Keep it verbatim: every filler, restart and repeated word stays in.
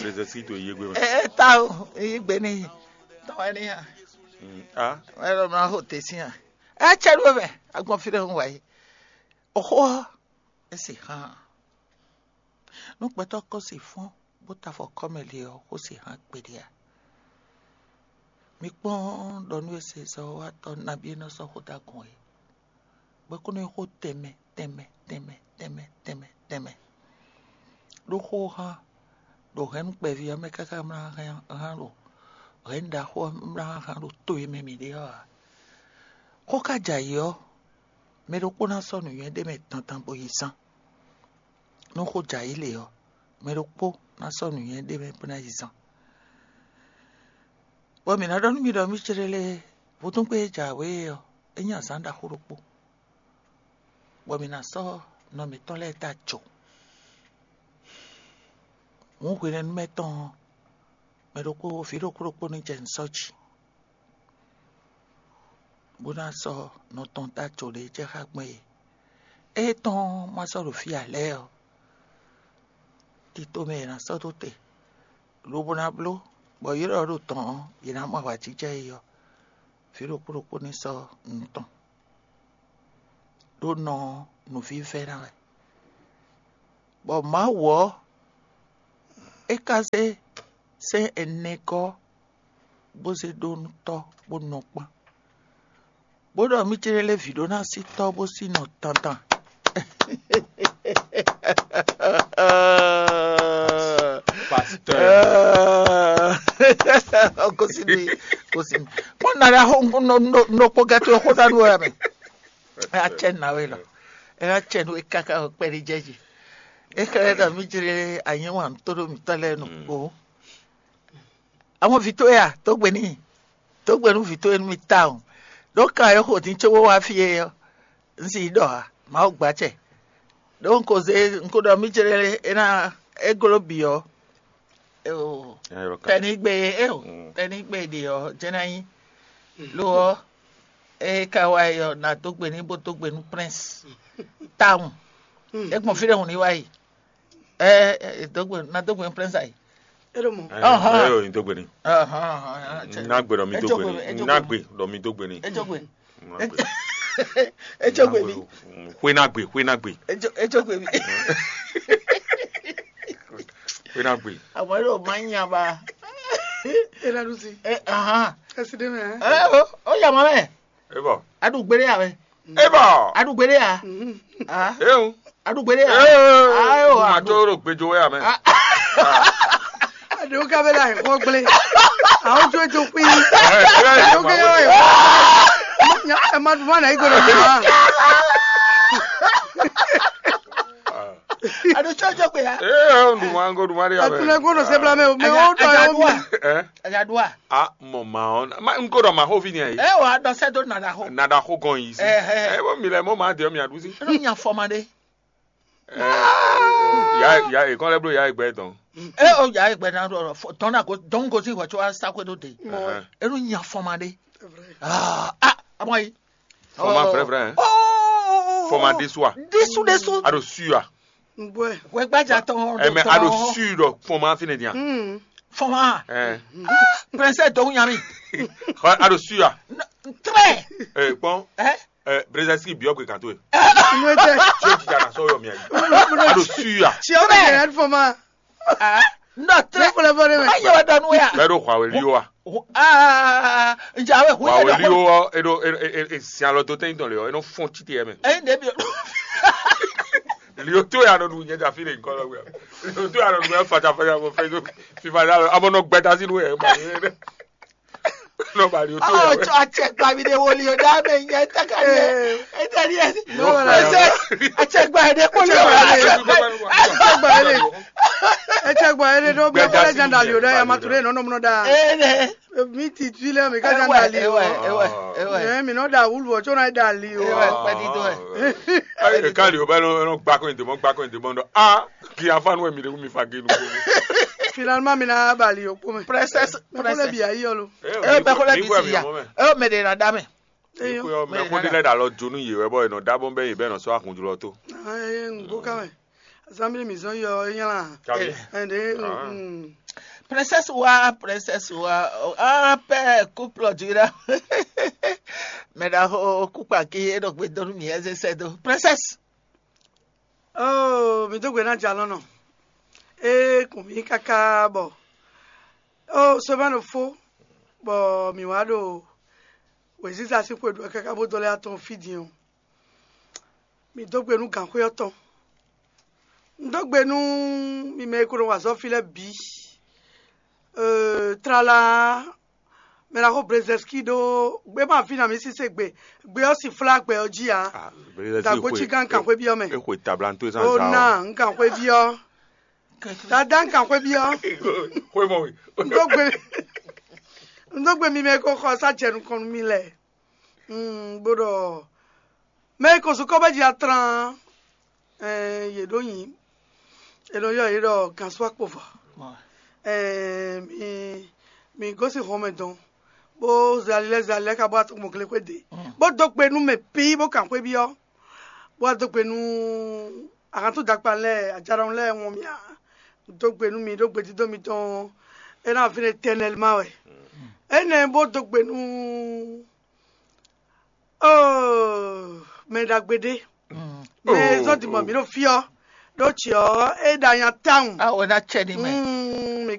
Lezɛsi to yé gbe mɛ. Ɛ ta o, yi gbe ni tɔn wɛ ni ya. Mm, a. Ɛ lɔ mla ho te sin a. Ɛ cɛ ɖo mɛ, agbɔn fi ɖe ho wa yi. Oxo ɔ, e se hàn. Nú gbɛtɔ́ kɔ se fɔ́n bó ta afɔ kɔmɛ le ɔ́, xó se hàn kpeɖe a. Mi kpɔ́n ɖɔ nú e se zɔ́watɔ́ nabí e nɔ sɔ́ xó dó agɔn é. Bɔ é kó nɔ nyí xó tɛnmɛ tɛnmɛ tɛnmɛ tɛnmɛ tɛnmɛ tɛnmɛ. Ɖó xó hán ɖo hɛ̌nnu kpɛví ɔ́ mɛ káká mlá hán ɖo hɛ̌nnu ɖaxó ɔ́ mlá hán ɖo to e mɛ mǐ ɖe ɔ́ ǎ. Xó ka jɛ ayǐ ɔ́, mɛ ɖokpó ná sɔ́ nǔnywɛ́ ɖé mɛ dandan bó yi zán. Nú xó jɛ ayǐ lě ɔ́, mɛ ɖokpó ná sɔ́ nǔnywɛ́ ɖé mɛ bó ná yi zán. Bɔ mǐ ná ɖɔ nú mi ɖɔ mì céɖélé vodúngbe e jǎwe é ɔ́, é nyí azǎn ɖaxó ɖokpó, bɔ mǐ ná sɔ́ nɔ mǐtɔn lɛ́ɛ dó ajo. Hǔn hwenɛ́nu mɛ tɔn ɔ́, mɛ ɖokpó vǐ ɖokpó ɖokpó ní jɛ nǔ sɔ́ jí, bó ná sɔ́ nɔ tɔn dó ajo ɖě jɛ xá gbɔn é. Ée tɔn ɔ́ ma sɔ́ ɖo fí ǎ lɛ́ɛ ɔ́, tito mɛ è nǎ sɔ́ dó te, lobo ná bló bɔ yě ɖɔ ɖo tɔn ɔ́, yě ná mɔ awǎjijɛ é ɔ́, vǐ ɖokpó ɖokpó ní sɔ́ nǔ tɔn, ɖó nɔ ɔ́ nǔvívɛ́ ná wɛ. Bɔ Mawu ɔ́, é ka zé sɛ́n ɛnɛ gɔ́ bó zé ɖó nú tɔ́ bó nɔ kpán, bó ɖɔ mì céɖélé vǐ ɖó ná sí tɔ́ bó sí nɔ tantan. Pasteur. Gosini, gosini. Kpɔn na ɖe axɔ nɔ nɔ nɔ kpɔ gɛtɔ xɔ ɖa ɖo ya mɛ. Ɛ atsɛ na we lɔ. Ɛ atsɛ nu e kaka o kpɛ ɖi jɛ ji. E xɛ ɖɔ mì céɖélé anyɛ wa ntó ɖo mì tɔ lɛ nu o. Àwọn vǐ towe a, dǒ gbe n'i. Dǒ gbe nú vǐ towe nú mì tawun. Ɖó kan e xo din cóbó wá fí é ɔ́, un sì yi ɖɔ ǎ, Mawu gbɔ acɛ. Ɖó un ko zé un ko ɖɔ mì céɖélé é ná é gló bǐ ɔ́, tɛnigbe é o, tɛnigbe ɖe ɔ́, jɛ́n ná nyí. Lo ɔ́, é ka wá yi ɔ́, nǎ dó gbe n'i bó dó gbe nú Prince tawun. É gbɔn fí ɖé hǔn ní wá yi. Ɛ ɛ dó gbe nǎ dó gbe nú Prince ayi. Eɖo mɔ. Ɛ ɛ yɔ yin dó gbe ni. Ná gbe ɖɔ mi dó gbe ni. Ná gbe ɖɔ mi dó gbe ni. Ejogbe. Ná gbe. Ejogbe mi. Xwe ná gbe, xwe ná gbe, Ejo ejogbe mi. Xwe ná gbe. Àwọn yóò máa ń yan ba. Ela ɖusi. Ɛ ahan. Kasi ɖe mɛ. Ɛ o o yà mọ́ mẹ́. E bɔ. Aɖugbére yà mẹ́. E bɔ. Aɖugbére yà. E o. Aɖugbére yà. E o. Ayo Ma tó ro gbejo wɛ amɛ. Aɖewo ka bɛ la yi xɔ gblẽ. Awo jo jo kpi. Aɖewo ka yɔ yi. Nya ɛ ma duma na yi gbɔdɔ duma. Aɖo tsɔ jɔ gbe ya. E o duma ngo duma de amɛ. Atunɛ gbɔdɔ se bla mɛ o mɛ o tɔ yɔ mi. Ɛ. Ɛyà do a. A mɔ ma ɔn. Ma n ko dɔ ma xo fi ni ayi. Ɛ o aɖɔ sɛ do nana xo. Nada xo gɔn yi si. Ɛhɛ. Ɛ bɔ mi lɛ mɔ ma de mi aɖu si. Ɛnu nya fɔ ma ɖe. Ya ya ekɔn lɛ blo ya egbɛ dɔn. Ɛ o ya egbɛ na ɖɔ tɔn na ko dɔn ko si wɔ tso asa ko do de. Ɛhɛn. Ɛnu nya fɔ ma ɖe. Ah ah amɔ yi. Fɔma frɛfrɛ. Oh. Fɔma desua. Desu desu. Aɖo sua. N bɔɛ. Wɛ gbadza tɔn. Ɛmɛ aɖo sui ɖɔ fɔma fi ne dia. Fɔma. Ɛ. Princesse dɔn nya mi. Aɖo sua. Très. Ɛ kpɔn. Ɛ. Ɛ brezasi biɔ gbe kan to ye. Inú ɛ tɛ. Tí o jija na sɔyɔ mi ayi. Aɖo sua. Tí o bɛ yɛrɛ fɔ ma. Ah. Ndɔ très. Fɔlɔ fɔ ne mɛ. Ayi wa dɔnu ya. Bɛɛ ɖo xɔ awɛ li o wa. Ah. Njawe hu. Wa awɛ li o wa eɖo e e e si alɔ to tɛyin tɔn le ɔ enɔ fɔn titi yɛ mɛ. Ɛyin de bi. Li o to ya nɔ ɖu nyɛ dza fi le nkɔ lɔ wɛ. Li o to ya nɔ ɖu mɛ fata fata mɔ fɛ fifa da lɔ amɔ nɔ gbɛta si nu yɛ ma yɛ dɛ. Nɔ ba li o to ya Ɔ wɛ. Tsɔ atsɛgba mi de woli o da mɛ nyɛ tɛka ni yɛ. Ɛtɛ ni yɛ. N'o wala. Ɛsɛ atsɛgba yɛ de kpɔli o. Atsɛgba yɛ de. Atsɛgba yɛ de ɖo bɛ kɔlɛ jan dali o da ya ma ture nɔ nɔ mɔ da. Ee ne. Mi ti tu lɛ mi ka jan dali o. Ewa ewa ewa. Ɛ mi nɔ da wulu o tsɔ na dali o. Ewa kpɛdi dɔ ɛ. Ayi ɖeka li o bɛ nɔ nɔ gba kɔn yin demɔ gba kɔn yin demɔ nɔ a ki afa nu mi de mi fa genu ko. Finalement mi na bali o kpɔmɛ. Princess Mɛ kɔlɛ princess. Bi ayi ɔlo. Ee bɛ kɔlɛ bi si ya. Ee mɛ de na da mɛ. Eyo. Mɛ ko de lɛ da lɔ jonu yi wɛ bɔ enɔ dabɔ bɛ yi bɛ nɔ sɔ akunjulɔ to. Ayi n ko kamɛ. Assemblée mi zɔn yɔ e nyala. Kabi. Ɛn de. Mm. Princesse wa, princesse wa. Ah, père, couple du là. Maintenant, au couple qui est donc, donne mieux, c'est ça. Princesse. Oh, mi dó gbe ná jalɔ́nɔ. E kun mì káká bɔ. Oh, semaine fó. Bɔ mi wá ɖo wěziza sín xwe ɖu káká bó dó lɛ́ atɔn fí din ɔ́. Mi dó gbe nú gǎnxwé ɔ́ tɔn. Un dó gbe nú mi mɛ e ko nɔ wa azɔ̌ fí lɛ́ɛ bǐ. Euh, tlala mɛ ná xo Brezɛski ɖó gbé ma fí na mi sísé gbe. Gbé ɔ́ si flá gbɛ ɔ́ jí ǎ. Dagbo cí gán kan xwé byɔ́ mɛ. Exwe tablanto zan Ó zan ná un kan xwé byɔ́. Dada un kan xwé byɔ́. Xwé mɔ wi. Un dó gbe un dó gbe mi mɛ e ko xɔ sá jɛ nukɔn nú mi lɛ. Mm, bó ɖɔ mɛ e ko zukɔ bɛ ji atlan. Ɛɛ, yě ɖó nyi. È nɔ ylɔ́ yě ɖɔ gǎnsúakpovɔ. Ɛɛ, mi mi gosín hɔnmɛ dɔn, bó zali lɛ́ zali lɛ́ ká bó wá tɔ́n gbɔn glexwé ɖe, bó dó gbe nú mɛ bǐ bó kan xwé byɔ́, bó wá dó gbe nú ahantúndakpa lɛ́ɛ, ajaɖɔnu lɛ́ɛ wɔn mì ǎ. Dó gbe nú mi ɖó gbedídó mitɔn, é ná vǐ étɛnɛlima wɛ. Énɛ́ bó dó gbe nú Oh, mɛ ɖagbe ɖé. Mɛ e zɔ́n din bɔ mǐ ɖo fí ɔ́, ɖó ce ɔ́, é ɖo anya tawun. Awo ná cɛ ní mɛ. Mm, mi